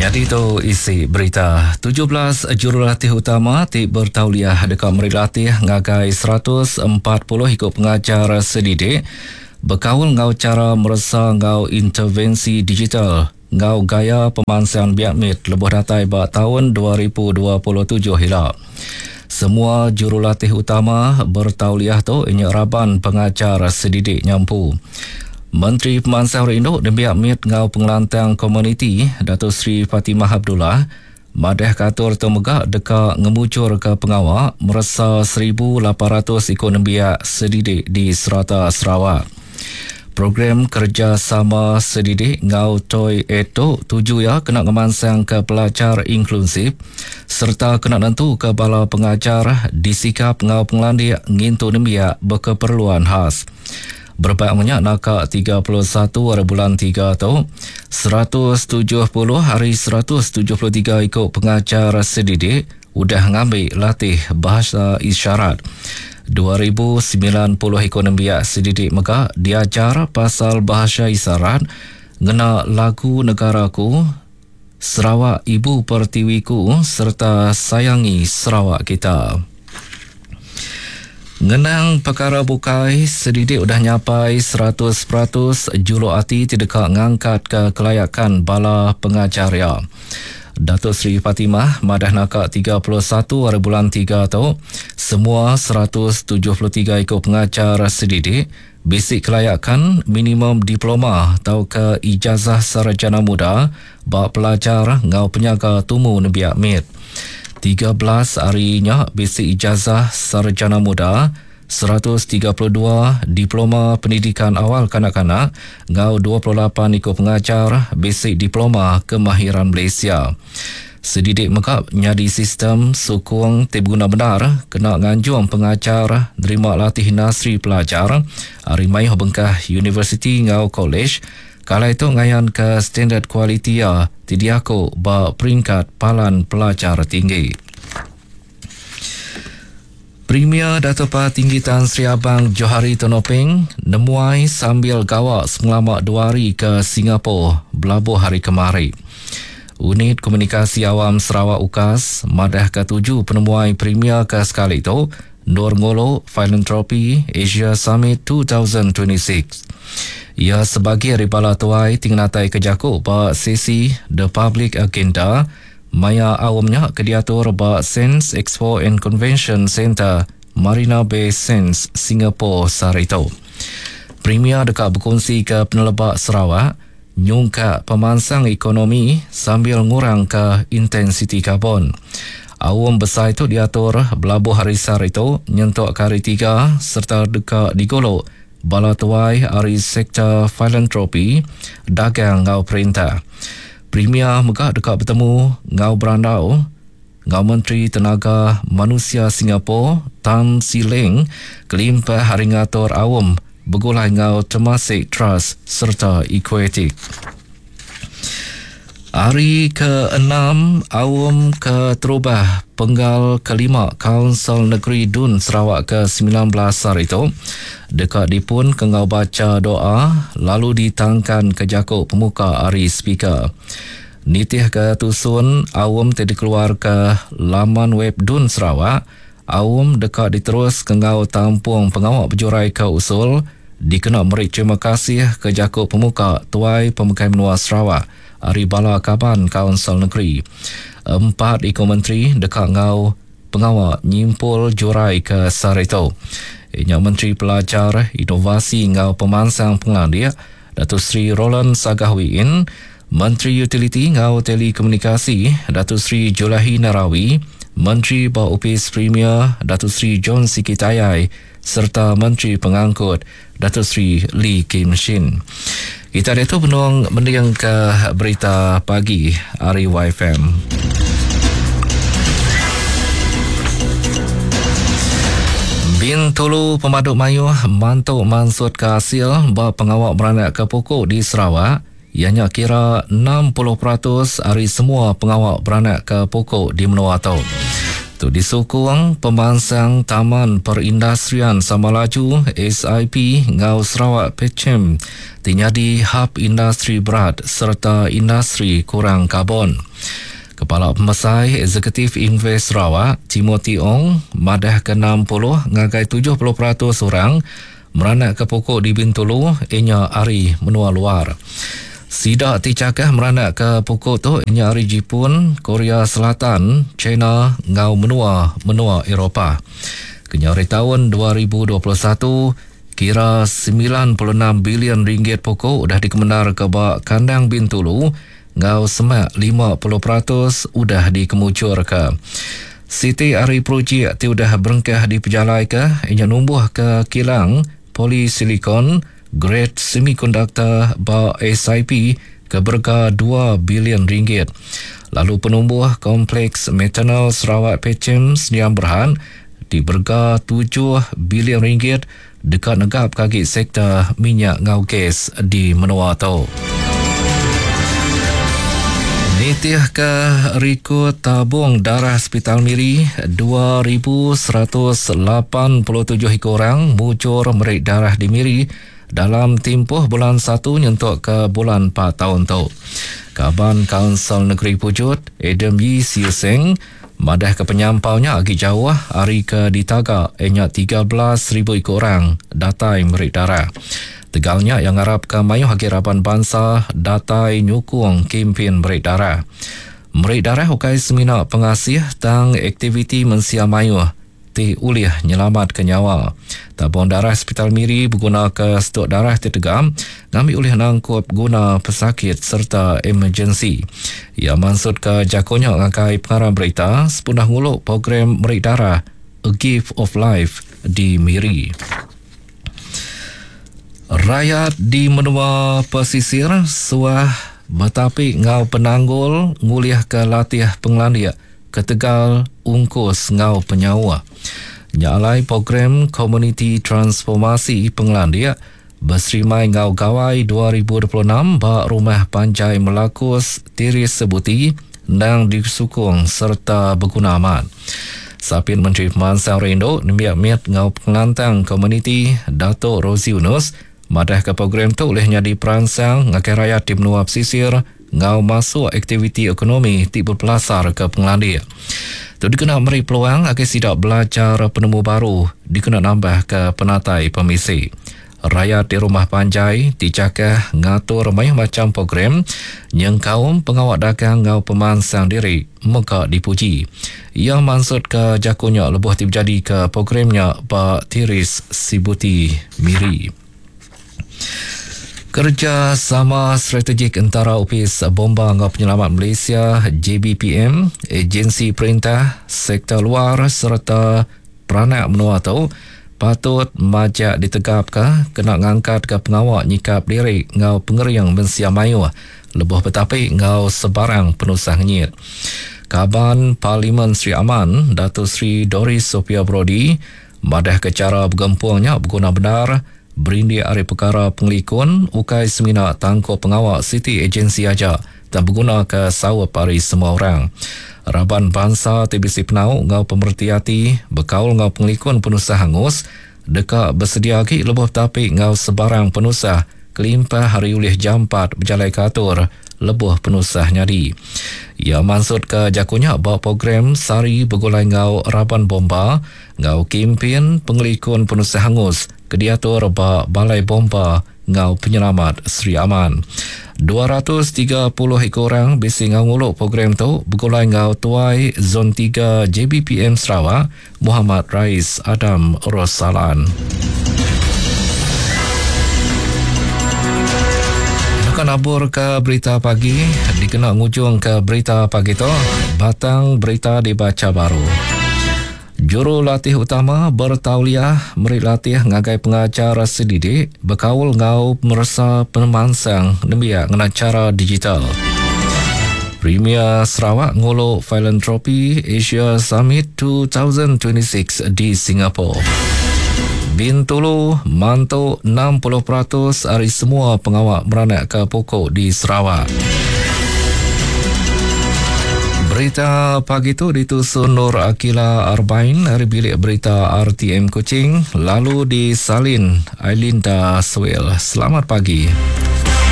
Nyadi tu isi berita. 17 jurulatih utama ti bertauliah deka meri latih ngagai 140 iku pengajar sedidik bekaul enggau chara meresa enggau intervensi digital enggau gaya pemansang biak mit lebuh datai ba taun 2027 ila. Semua jurulatih utama bertauliah tu inya raban pengajar sedidik nya empu. Menteri Pemansang Rindu Nembiak Mit enggau Pengelantang Komuniti, Dato Sri Fatimah Abdullah, madahka atur tu mega deka ngemujurka pengawa meresa 1,800 iku nembiak sedidik di serata Sarawak. Program kerejasama sedidik enggau Toy Aid tu tuju iya kena ngemansangka pelajar inklusif sereta kena nentuka bala pengajar disikap enggau pengelandik ngintu nembiak bekeperluan khas. Berebak menya naka 31 ari bulan tiga tu, 170 ari 173 iku pengajar sedidik udah ngambi latih Bahasa Isyarat. 2090 iku nembiak sedidik mega diajar pasal Bahasa Isyarat ngena lagu Negaraku, Sarawak Ibu Pertiwiku sereta Sayangi Sarawak Kita. Ngenang pekara bukai, sedidik udah nyapai 100% juluk ati ti deka ngangkatka kelayakan bala pengajar iya. Dato Sri Fatimah madah naka 31 hari bulan tiga tu, semua 173 iku pengajar sedidik Bisi kelayakan minimum diploma tauka ijazah sarjana muda ba pelajar enggau penyaga tumu nembiak mit. 13 ari nya bisi ijazah sarjana muda, 132 diploma pendidikan awal kanak-kanak enggau 28 iku pengajar bisi diploma kemahiran Malaysia. Sedidik mega nyadi sistem sukung ti beguna bendar kena nganjung pengajar nerima latih industri pelajar ari mayuh bengkah universiti enggau kolej ke alai tu ngayanka standard kualiti iya ti diaku ba peringkat palan pelajar tinggi. Premier Datuk Patinggi Tan Sri Abang Johari Tun Openg nemuai sambil gawa sepengelama dua hari ke Singapore belabuh hari kemari. Unit Komunikasi Awam Sarawak UKAS madahka tuju penemuai Premier ke sekali tu endur ngulu Philanthropy Asia Summit 2026. Iya sebagi ari bala tuai ti ngenataika jaku ba sesi The Public Agenda Maya aum nya ke diatur ba Sands Expo and Convention Centre, Marina Bay Sands, Singapore sehari tu. Premier deka bekunsika peneleba Sarawak nyungkak pemansang ekonomi sambil ngurangka intensiti karbon. Aum besai tu diatur belabuh hari sehari tu nyentuk ke hari Tiga sereta deka digulu bala tuai ari sektor filantropi, dagang enggau perintah. Premier mega deka betemu enggau berandau enggau Menteri Tenaga Manusia Singapore Tan See Leng kelimpah ari ngatur aum begulai enggau Temasek Trust sereta Equatic. Hari ke-enam aum keterubah penggal kelima Kaunsil Negeri Dun Sarawak ke-19 sehari tu deka dipun ke enggau bacha doa lalu ditangkan ke jaku pemuka ari speaker. Nitihka tusun aum ti dikeluarka laman web Dun Sarawak, aum deka diterus ke enggau tampung pengawa bejuraika usul dikena meri terima kasih ke jaku pemuka Tuai Pemegai Menua Sarawak ari bala kaban Kaunsil Negeri. Empat iku menteri deka enggau pengawa nyimpul jurai ke sehari tu. Iya nya Menteri Pelajar, Inovasi enggau Pemansang Pengelandik, Dato Sri Roland Sagah Wee Inn, Menteri Utiliti enggau Telekomunikasi, Dato Sri Julaihi Narawi, Menteri ba Opis Premier, Dato Sri John Sikie Tayai sereta Menteri Pengangkut, Dato Sri Lee Kim Shin. Kita diatu benung mendingka berita pagi ari YFM. Bintulu pemadu mayuh mantu mansutka asil ba pengawa beranakka puku di Sarawak iya nya kira 60% ari semua pengawa beranakka puku di menua tu. Tu disukung pemansang Taman Perindustrian Samalaju, SIP, enggau Sarawak Petchem ti nyadi hab industri berat sereta industri kurang karbon. Kepala Pemesai Eksekutif Invest Sarawak, Timothy Ong madahka 60 ngagai 70% orang Meranakka pokok di Bintulu iya nya ari menua luar. Sida ti chakah meranakka pokok tu iya nya ari Jipun, Korea Selatan, China enggau menua-menua Eropah. Kenyau ari taun 2021, kira 96 bilion ringgit pokok udah dikemendarka ba kandang Bintulu enggau semak 50% udah dikemujurka. Siti ari projek ti udah berengkah dipejalaika iya nya numbuhka kilang polisilikon gred semikonduktor ba SIP ke berega dua bilion ringgit lalu penumbuh Kompleks Metanol Sarawak Petchem Sdn Bhd ti berega tujuh bilion ringgit deka negapka agi sektor minyak enggau gas di menua tu. Nitihka rikod tabung darah Sepital Miri, 2187 iku orang mujur meri darah di Miri dalam timpuh bulan satu nyentuk ke bulan empat taun tu. Kaban Kaunsil Negeri Pujut, Adam Yii Siew Seng, Madahka penyampau nya agi jauh ari ke ditaga iya nya 13,000 iku orang datai meri darah. Tegal nya iya ngarapka mayuh agi raban bansa datai nyukung kimpin meri darah. Meri darah ukai semina pengasih tang aktiviti mensia mayuh ti ulih nyelamatka nyawa. Tabung darah Sepital Miri begunaka stuk darah ti tegap ngambi ulih nangkup guna pesakit sereta emergensi. Iya mansutka jaku nya ngagai pengarang berita sepundah ngulu program meri darah A Gift of Life di Miri. Rayat di menua pesisir suah betapi enggau penanggul ngulihka latih pengelandik ketegal ungkus enggau penyauh. Nya alai program Komuniti Transformasi Pengelandik beserimai enggau Gawai 2026 ba Rumah Panjai Melakus Tiris Sebuti endang disukung sereta beguna amat. Sapit Menteri Pemansang Rindu, Nembiak Mit enggau Pengelantang Komuniti Datuk Rosey Yunus madahka program tu ulih nyadi peransang ngagai rayat di menua pesisir enggau masuk aktiviti ekonomi ti bepelasarka pengelandik. Tu dikena meri peluang ngagai sida belajar penemu baru dikena nambahka penatai pemisi. Rayat di rumah panjai ti chakah ngatur mayuh macham program nyengkaum pengawa dagang enggau pemansang diri mega dipuji. Iya mansutka jaku nya lebuh ti bejadika program nya ba Tiris Sibuti, Miri. Kerejasama strategik entara Opis Bomba enggau Penyelamat Malaysia, JBPM, ejensi perintah, sektor luar sereta peranak menua tu patut majak ditegapka kena ngangkatka pengawa nyikap diri enggau pengering mensia mayuh lebuh betapi enggau sebarang penusah ngenyit. Kaban Parlimen Sri Aman, Dato Sri Doris Sophia Brodie madahka chara begempung nya beguna bendar Berindik ari pekara pengelikun ukai semina tangkup pengawa siti ejensi aja tang begunaka saup ari semua orang. Raban bansa ti bisi penau enggau pemereti ati bekaul enggau pengelikun penusah angus deka besedia agi lebuh betapi enggau sebarang penusah kelimpah ari ulih jampat bejalaika atur lebuh penusah nyadi. Iya mansutka jaku nya ba program Sehari Begulai Enggau Raban Bomba enggau Kimpin Pengelikun Penusah Angus ke diatur ba Balai Bomba enggau Penyelamat Sri Aman. 230 iku orang bisi enggau ngulu program tu begulai enggau Tuai Zon 3 JBPM Sarawak, Muhammad Rais Adam Rosalan. Deka nabur ke berita pagi dikena ngujung ke berita pagi tu batang berita dibacha baru. Jurulatih utama bertauliah meri latih ngagai pengajar sedidik bekaul enggau meresa pemansang nembiak ngena chara digital. Premier Sarawak ngulu Philanthropy Asia Summit 2026 di Singapore. Bintulu mantu 60% ari semua pengawa meranakka pokok di Sarawak. Berita pagi tu ditusun Nur Akila Arbain ari bilik berita RTM Kuching lalu disalin Ailinda Suel. Selamat pagi.